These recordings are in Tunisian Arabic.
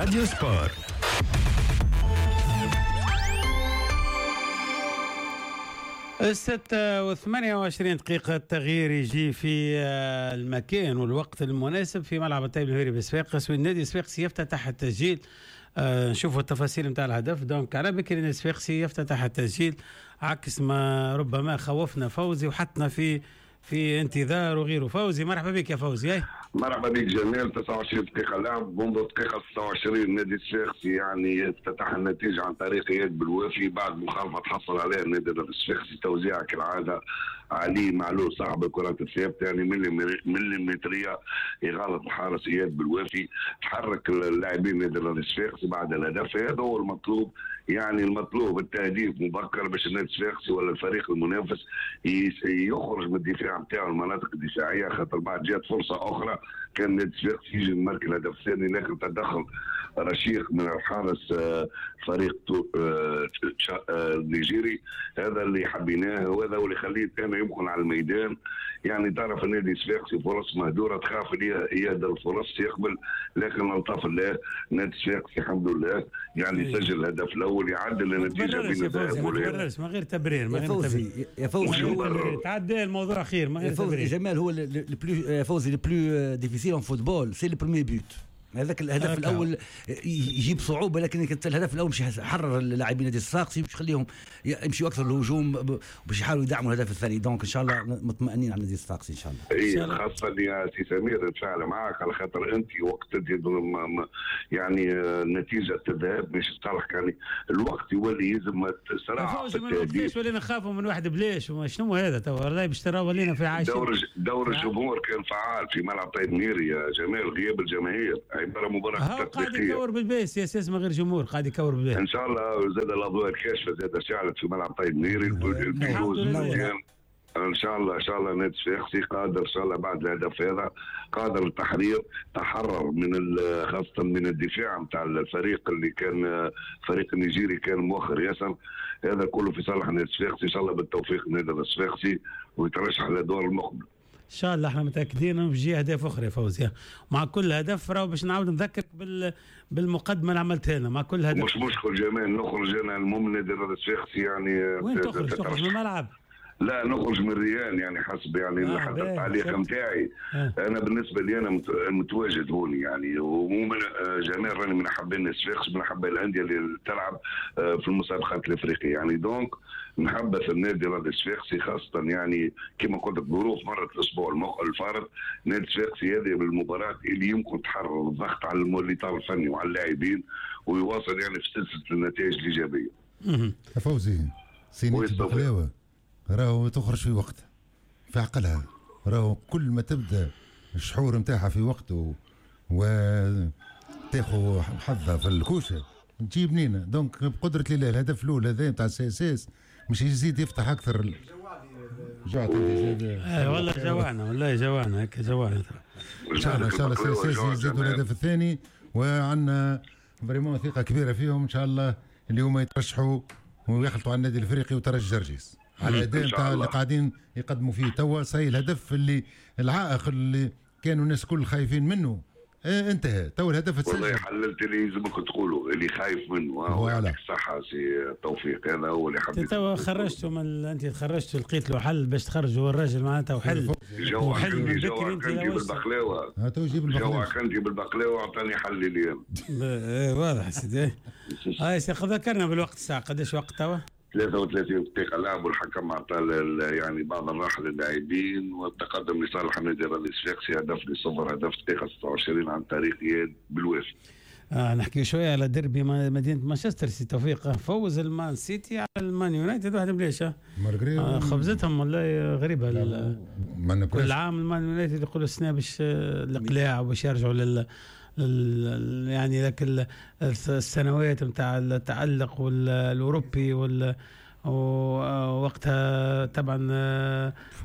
راديو سبور. 6:28، التغيير يجي في المكان والوقت المناسب في ملعب الطيب المهيري بصفاقس، والنادي الصفاقسي يفتتح التسجيل. نشوفوا التفاصيل نتاع الهدف. donc على بكري النادي الصفاقسي يفتتح التسجيل عكس ما ربما خوفنا فوزي وحطنا في انتظار وغيره. فوزي مرحبا بك يا فوزي. مرحبا بك جمال. 29 دقيقة لعب، منذ دقيقة 26 النادي الصفاقسي يعني افتتح النتيجة عن طريق اياد بالوافي بعد مخالفة تحصل عليها النادي الصفاقسي، توزيع كالعادة علي معلول صاحب الكرات الثابتة، يعني مليمترية يغلط الحارس اياد بالوافي. تحرك اللاعبين النادي الصفاقسي بعد الهدف، هذا هو المطلوب، يعني المطلوب التهديف مبكر باش النادي الصفاقسي ولا الفريق المنافس يخرج من الدفاع نتاعو المناطق الدفاعية، خاطر بعد جات فرصة اخرى كان النادي الصفاقسي يجي يمارك الهدف الثاني، لكن تدخل رشيق من الحارس فريق النيجيري. هذا اللي حبيناه وهذا هو اللي خليه انا يمكن على الميدان. يعني تعرف النادي الصفاقسي فرص مهدوره، تخاف يهدر الفرص يقبل، لكن الطف الله النادي الصفاقسي الحمد لله يعني سجل الهدف الاول يعدل النتيجة بين الذهاب والاياب. من غير تبرير، من غير تبرير يا فوزي، تعدى الموضوع خير من غير تبرير. جمال هو le plus فوزي le plus difficile en football c'est le premier but. هذاك الهدف الاول يجيب صعوبة، لكن الهدف الاول باش يحرر اللاعبين نادي الصفاقسي باش يخليهم يمشيوا اكثر للهجوم باش يحاولوا يدعموا الهدف الثاني. donc ان شاء الله مطمئنين على نادي الصفاقسي ان شاء الله. اي خاصة يا سي سمير نتفاعل معاك على خاطر انت وقت يعني نتيجة الذهاب مش تصلح، يعني الوقت يولي يلزم صراحة. ليش ولينا نخافوا من واحد بلاش؟ شنو هذا تو والله باش ترى ولينا في عايشين. دور الجمهور كان فعال في ملعب طيب ميري يا جمال، غياب الجماهير مباراة قاعد يكور بالبيس يا سيس من غير جمهور، قاعد يكور بالبيس. ان شاء الله زاد الاضواء الكاشفة زاد شعلت في ملعب طيب ميري البيروز مزيان. ان شاء الله ان شاء الله نادي الصفاقسي قادر ان شاء الله بعد الهدف هذا قادر التحرير، تحرر من خاصة من الدفاع نتاع الفريق اللي كان فريق النيجيري كان مؤخر ياسر. هذا كله في صالح النادي الصفاقسي، ان شاء الله بالتوفيق للنادي الصفاقسي ويترشح للدور المقبل. ان شاء الله. احنا متاكدين انه بيجي اهداف اخرى يا فوزي مع كل هدف. راهو باش نعاود نذكرك بالمقدمة اللي عملتها لنا مع كل هدف. مش مشكل جمال، نخرج انا المهم النادي الصفاقسي يعني. وين تخرج؟ تخرج من الملعب؟ لا نخرج من الريان، يعني حسب يعني حتى التعليق نتاعي. انا بالنسبة لي انا متواجد هوني يعني، ومن جمال راني من حبين الصفاقس، من حبين الاندية اللي تلعب في المسابقات الافريقية يعني. donc نحبس النادي الرياضي الصفاقسي خاصة يعني كما قلت لك ظروف مرت الاسبوع الفارط. نادي الصفاقسي هذه بالمباراة اللي يمكن تحرر الضغط على الاطار الفني وعلى اللاعبين ويواصل يعني في سلسلة النتائج الايجابية. فوزي سينية البقلاوه راهو تخرج في وقتها في عقلها، راهو كل ما تبدا الشحور نتاعها في وقته وتاخذ حظها في الكوشة تجيب بنينه. donc بقدره الله الهدف الاول هذا نتاع ال CSS مش يزيد يفتح اكثر. جوعت انت؟ والله جوعنا، والله جوعنا هكا جوعنا. ان شاء الله ان شاء الله ال CSS يزيدوا الهدف الثاني، وعندنا vraiment ثقة كبيرة فيهم ان شاء الله اللي هما يترشحوا ويخلطوا على النادي الافريقي وترجي جرجيس على الاداء نتاع اللي قاعدين يقدموا فيه توا. صحيح الهدف اللي العائق اللي كانوا الناس كل خايفين منه انتهى، تو الهدف تسجل. والله حللت اللي يلزمك تقوله اللي خايف منه. يعطيك الصحة سي توفيق، هذا هو اللي حبيت. توا خرجتوا من انت خرجتوا لقيت له حل باش تخرجوا الراجل معناتها، وحل وحل من بكري انت بالبقلاوة. تو جيب البقلاوة، جوعك بالبقلاوة وعطاني حل اليوم. واضح سيدي. هاي سي ذكرنا بالوقت الساعة قداش وقت توا؟ 33 دقيقة لعب، والحكم أعطى يعني بعض الراحة للاعبين والتقدم لصالح النادي الرياضي الصفاقسي 0-0، هدف دقيقة 26 عن طريق إياد بالوافي. نحكي شوية على ديربي مدينة مانشستر سي توفيق. فوز المان سيتي على المان يونايتد 1-0. خبزتهم والله غريبة. كل عام المان يونايتد يقولوا السنة باش الإقلاع وباش يرجعوا لل يعني ذاك السنوات نتاع التألق والأوروبي ووقتها طبعا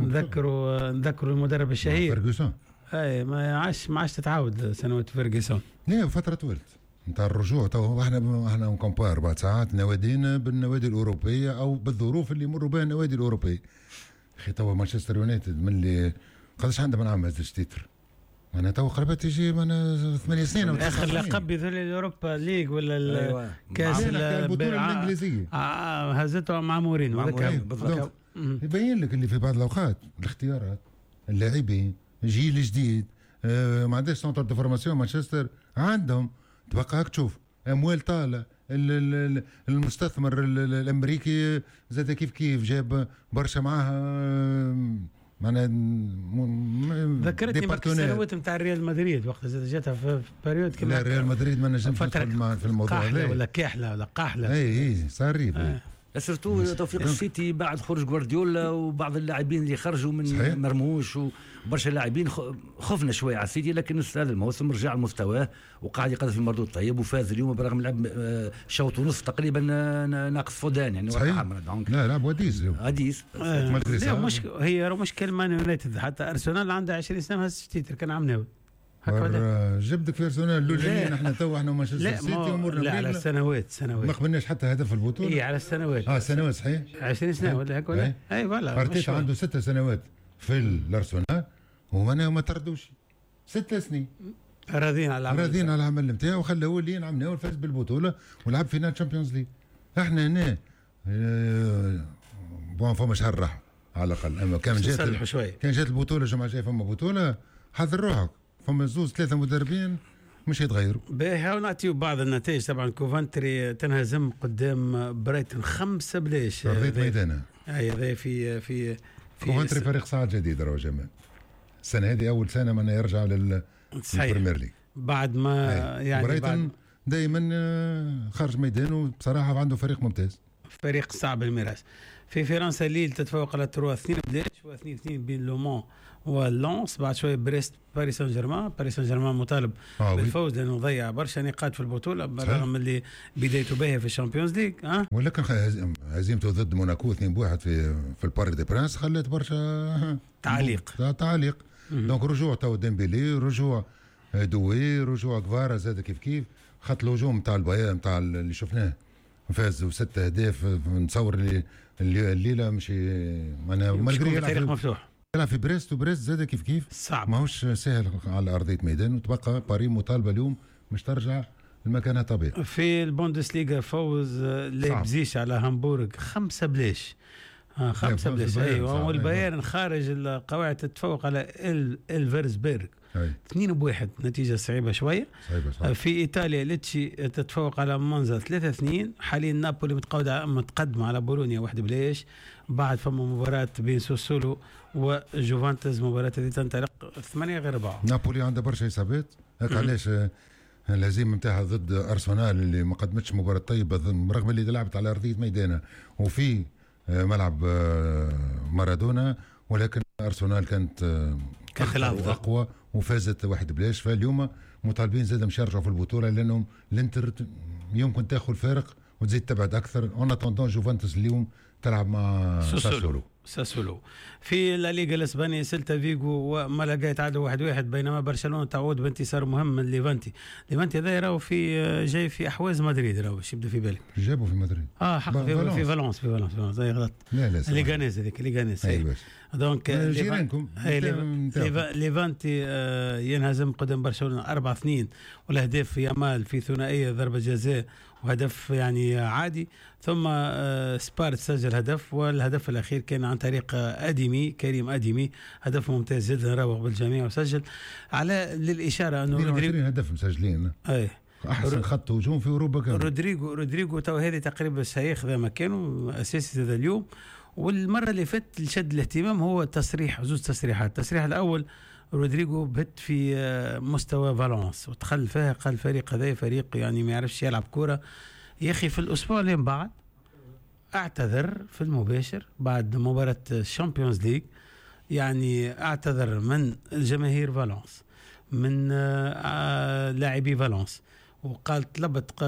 نذكروا المدرب الشهير فيرغسون. اي ما عادش تتعاود سنوات فيرغسون. لا فترة طولت نتاع الرجوع. تو احنا ن compare بعد ساعات نوادينا بالنوادي الأوروبية او بالظروف اللي يمروا بها النوادي الأوروبية. اخي تو مانشستر يونايتد من اللي قداش عندها من عام هزش titre؟ انا تو قربت تجي من 8 سنين او اخر لقب يظل ال Europa League ولا أيوة. كاس البطولة الانجليزية هزته مع مورينو. بالضبط، يبين لك اللي في بعض الاوقات الاختيارات، اللاعبين، جيل جديد، ما عندهاش centre de formation مانشستر عندهم، تبقى هاك تشوف اموال طالة، المستثمر الامريكي زاد كيف كيف جاب برشا معاها معناها. ذكرتني برك السنوات نتاع ريال مدريد وقت زاد جاتها في période. كما لا، ريال مدريد ما نجمش ندخل في الموضوع. هذا ولا كاحله ولا قاحله. اي اي صار. surtout توفيق، السيتي بعد خروج جوارديولا وبعض اللاعبين اللي خرجوا من صحيح. مرموش وبرشا لاعبين، خفنا شوية على السيتي، لكن هذا الموسم رجع لمستواه وقاعد يقدم في مردود طيب، وفاز اليوم برغم لعب شوط ونص تقريبا ناقص فودان يعني. صحيح، لا لعب à dix. à dix. لا مش هي مشكل مان يونايتد، حتى ارسنال عنده 20 سنة ما هزش titre كان عام ناوي. هكا جبدك في ارسنال الاولانيين، احنا تو احنا مانشستر سيتي امورنا. لا، على السنوات سنوات. ما قبلناش حتى هدف في البطوله. اي، على السنوات. اه سنوات، صحيح. 20 سنة ولا هكا ولا اي voilà. ارتيتا عنده 6 سنوات في الارسنال وما ما طردوش 6 سنين. راضيين على العمل. راضيين على العمل نتاعو وخلاه اللي عملناه، فاز بالبطولة ولعب finale Champions League. احنا هنا bon فما شهر راحة على الاقل، اما كان جات كان جات البطولة الجمعة الجاية فما بطوله، حضر روحك، فما زوز ثلاثة مدربين مش يتغيروا. باهي، نعطيو بعض النتائج. طبعا كوفنتري تنهزم قدام برايتون 5-0. ارضية ميدانها. اي، هذا في في كوفنتري فريق صاعد جديد راهو جمال، السنة هذه اول سنة من يرجع لل Premier League. بعد ما يعني برايتون دائما خارج ميدانه بصراحة عنده فريق ممتاز. فريق صعب المراس. في فرنسا ليل تتفوق على تروا 2-0، و2-2 بين لومون ولونس. بعد شوية بريست باريس سان جيرمان. باريس سان جيرمان مطالب بالفوز لانه ضيع برشا نقاط في البطولة بالرغم اللي بدايته باهيه في ال Champions League. ها ولكن هزيمته ضد موناكو 2-1 في ال Parc des Princes خلت برشا تعليق. تعليق. donc رجوع تو ديمبيلي، رجوع دوي، رجوع كفارا زاد كيف كيف، خط الهجوم نتاع البايرن نتاع اللي شفناه فاز بست اهداف، نتصور اللي الليلة مش معناها malgré فريق مفتوح. يلعب في بريست، وبريست زاد كيف كيف صعب. ماهوش سهل على ارضية ميدان، وتبقى باري مطالبه اليوم مش ترجع لمكانها طبيعي. في البوندسليغا فوز لايبزيش على هامبورغ 5-0، 5-0، ايوه. والبايرن خارج القواعد تتفوق على الفرسبرغ 2-1، نتيجة صعيبة شوية. صعيبة صعيبة. في إيطاليا ليتشي تتفوق على مونزا 3-2. حاليا نابولي متقدمة على بولونيا 1-0. بعد فما مباراة بين سوسولو وجوفانتس، مباراة هذه تنطلق 7:45. نابولي عنده برشا إصابات، هاك علاش الهزيمة نتاعها ضد ارسنال اللي ما قدمتش مباراة طيبة رغم اللي لعبت على ارضية ميدانها وفي ملعب مارادونا، ولكن ارسنال كانت كانت اقوى وفازت 1-0. فاليوم مطالبين زاد مش يرجعوا في البطولة لانهم الانتر يمكن تاخذ فارق وتزيد تبعد اكثر. en attendant جوفنتوس اليوم تلعب مع ساسولو. ساسولو. في لا ليغا الاسبانية سيلتا فيغو ومالاغا يتعادلوا 1-1، بينما برشلونة تعود بانتصار مهم من ليفانتي. ليفانتي هذا راهو في جاي في احواز مدريد، راهو باش يبدا في بالك. جابوا في مدريد. اه حق، في فالونس، في فالونس، في فالونس غلط. لا لا. ليغانيز، هذيك ليغانيز. ايوه. donc جيرانكم. ليفانتي ينهزم قدام برشلونة 4-2، والاهداف يامال في ثنائية ضربه جزاء وهدف يعني عادي، ثم سبارت سجل هدف، والهدف الاخير كان عن طريق اديمي، كريم اديمي، هدف ممتاز جدا، راوغ بالجميع وسجل. على للاشارة انه رودريغو هدف مسجلين. اي. احسن خط هجوم في اوروبا كان رودريغو تو هذه تقريبا سياخذ مكانه اساسي هذا اليوم. والمرة اللي فاتت اللي شد الاهتمام هو تصريح، زوج تصريحات. التصريح الاول رودريغو بهت في مستوى فالونس ودخل فيها، قال الفريق هذا فريق يعني ما يعرفش يلعب كوره. يا اخي في الاسبوع اللي من بعد اعتذر في المباشر بعد مباراة ال Champions League، يعني اعتذر من الجماهير فالونس، من لاعبي فالونس، وقال طلبت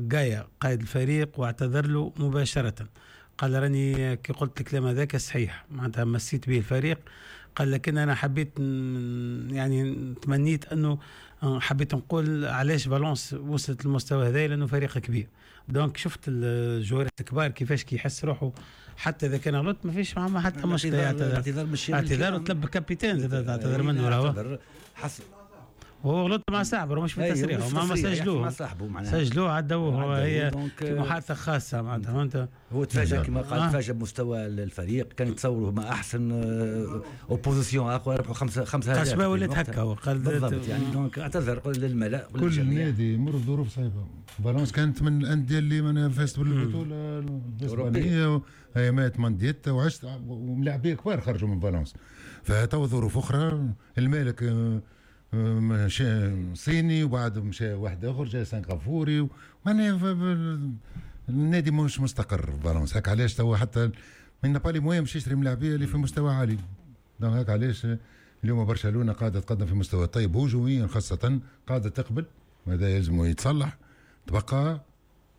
جايا قائد الفريق واعتذر له مباشرة. قال راني كي قلت الكلام هذاك صحيح، معناتها مسيت به الفريق، قال لكن انا حبيت يعني تمنيت انه حبيت نقول علاش فالونس وصلت للمستوى هذا، لانه فريق كبير. donc شفت الجوارات الكبار كيفاش كيحس روحه، حتى اذا كان غلط ما فيش معاه حتى مشكله. اعتذار، مش اعتذار، وطلب capitaine زاد اعتذر منه راهو. حسب وهو غلط مع صاحبه مش في التصريح، ما سجلوه مع صاحبه معناها سجلوه عدوه، هي في محادثة خاصة معناتها فهمت. هو تفاجأ كما قال، تفاجأ بمستوى الفريق، كان يتصوروا ما احسن opposition اقوى، ربحوا 5 اهداف. ولات هكا وقال بالضبط يعني donc اعتذر للملأ. كل نادي يمر بظروف صعيبة. فالونس كانت من الاندية اللي فازت بالبطولة الاسبانية ايامات مانديتا وعشت، وملاعبيه كبار خرجوا من فالونس. فتو ظروف اخرى، المالك مشى صيني وبعد مشى واحد اخر جاي سنغافوري، معناها النادي مش مستقر فالونس. هاك علاش توا حتى من pas les moyens باش يشري ملاعبيه اللي في مستوى عالي. donc هاك علاش اليوم برشلونة قاعدة تقدم في مستوى طيب هجوميا خاصة، قاعدة تقبل وهذا يلزم يتصلح. تبقى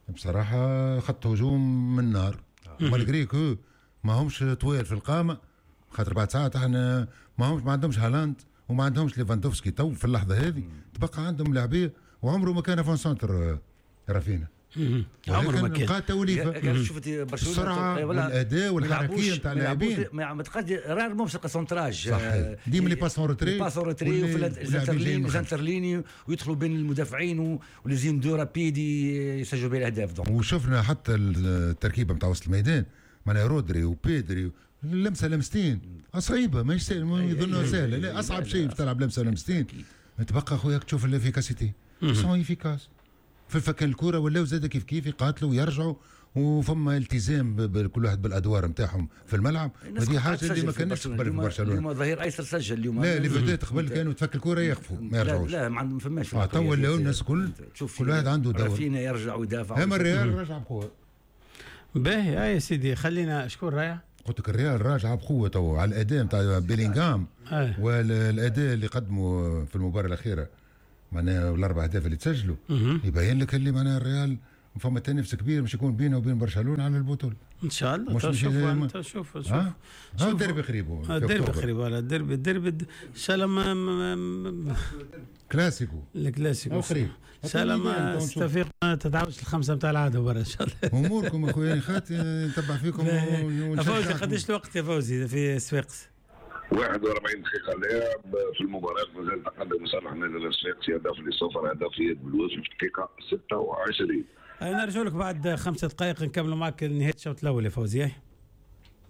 بصراحة خط هجوم من نار، malgré que ما همش طويل في القامة، خاطر بعد ساعات احنا ما عندهمش هالاند وما عندهمش ليفاندوفسكي تو في اللحظة هذه. تبقى عندهم لاعبيه، وعمره ما كان avant-centre رافينا، عمره ما كان. بقى توليفة شفت برشلونة السرعة والاداء والحركيه نتاع اللاعبين، ما تلقاش rarement باش تلقى centrage. ديما les passes en retrait، passes en retrait وفي les interlignes ويدخلوا بين المدافعين و les une-deux rapides يسجلوا بها الاهداف. وشفنا حتى التركيبة نتاع وسط الميدان، معناها رودري وبيدري لمسه لمستين صعيبة، ماهيش سهلة، يظنها سهلة، لا اصعب شيء تلعب لمسه لمستين. تبقى خويا تشوف l'efficacité sont efficaces في فكان الكورة، ولاو زاد كيف كيف يقاتلوا ويرجعوا، وفما التزام بكل واحد بالادوار نتاعهم في الملعب. وهذه حاجة اللي ما كانتش قبل في برشلونة. اليوم ظهير ايسر سجل اليوم، لا les vedettes قبل كانوا تفك الكورة يقفوا ما يرجعوش. لا ما فماش. تو ولاو الناس الكل كل واحد عنده دور، رافينا يرجع ويدافع. اما الريال رجع بقوة. باهي يا سيدي، خلينا شكون رايح؟ قلت لك الريال راجع بقوة تو على الاداء نتاع بيلينغهام والاداء اللي قدمه في المباراة الاخيرة، معناها الاربع اهداف اللي تسجلوا يبين لك اللي معناها الريال فما تنافس كبير باش يكون بينه وبين برشلونة على البطولة ان شاء الله. شوف شوف الديربي قريب، الديربي قريب، ولا الديربي ان شاء الله ما كلاسيكو، الكلاسيكو قريب ان شاء الله. ما استفيق ما تتعاودش الخمسة نتاع العادة برا ان شاء الله. اموركم اخويا خاطر نتبع فيكم. فوزي قداش الوقت يا فوزي في صفاقس؟ 41 دقيقة لعب في المباراة، مازال تقدم لصالح النادي الصفاقسي هدف لصفر، هدف يد بالوافي في الدقيقة 26. نرجع لك بعد 5 دقائق نكملوا معك نهاية الشوط الأول يا فوزي.